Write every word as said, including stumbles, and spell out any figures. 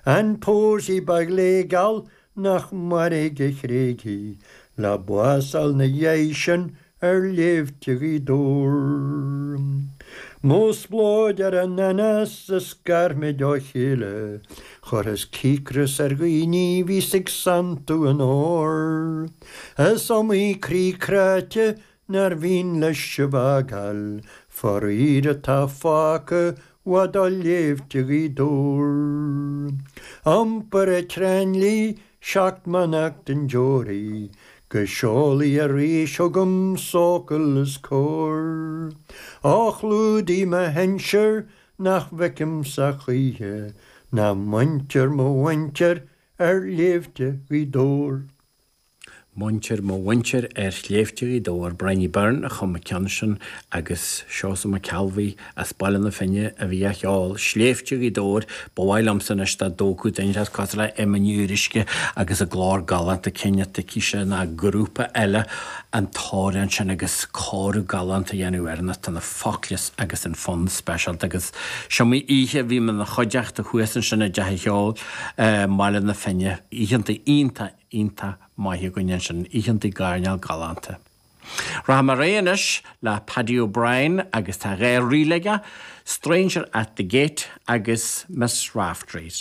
An pósaí ba ghléigeal nach mairg a thréig í le bás a fháil 'na dhiaidh sin ar shléibhte Ghaoth Dobhair. Mo spleodar ar an anás a scar muid ó chéile, Chuireas cíocras ar dhaoine bhíos ag santú an óir. Is iomaí croí cráite nár mhian leis sibh a fhágáil, faraor atá fágtha i bhfad ó shléibhte Ghaoth Dobhair. Iompar ag Tráinlí seacht mbeannacht den deoraí, Go seolfaidh arís chugam socal is cóir. Ó chlúdaigh mo shinsir nach bhfeicimse choíche ná muintir mo mhuintir ar shléibhte Ghaoth Dobhair. Muintir mo mhuintir ar shléibhte Ghaoth Dobhair, Briney Byrne a chum an ceann sin agus Seosamh Mac Ceallbhuí as Baile na Finne a bhí á cheol. Sléibhte Ghaoth Dobhair, ba mhaith liomsa anois dá dtógfadh duine as cosúil le Emma Ní Fhíoruisce agus a glór galánta cinnte aici ná grúpa eile an t-amhrán sin agus cóiriú galánta a dhéanamh air nó tá na focla agus an fonn speisialta agus is iomaí oíche a bhí mé ina chuideachta thuas ansin i dTeach an Cheoil i mBaile na Finne, oícheanta iontach iontach maith againn ansin, oícheanta gairneáil galánta. Rachaidh mé ar aghaidh anois le Paddy O'Brien agus tá dhá ríl aige, Stranger at the Gate agus Miss Raftery's.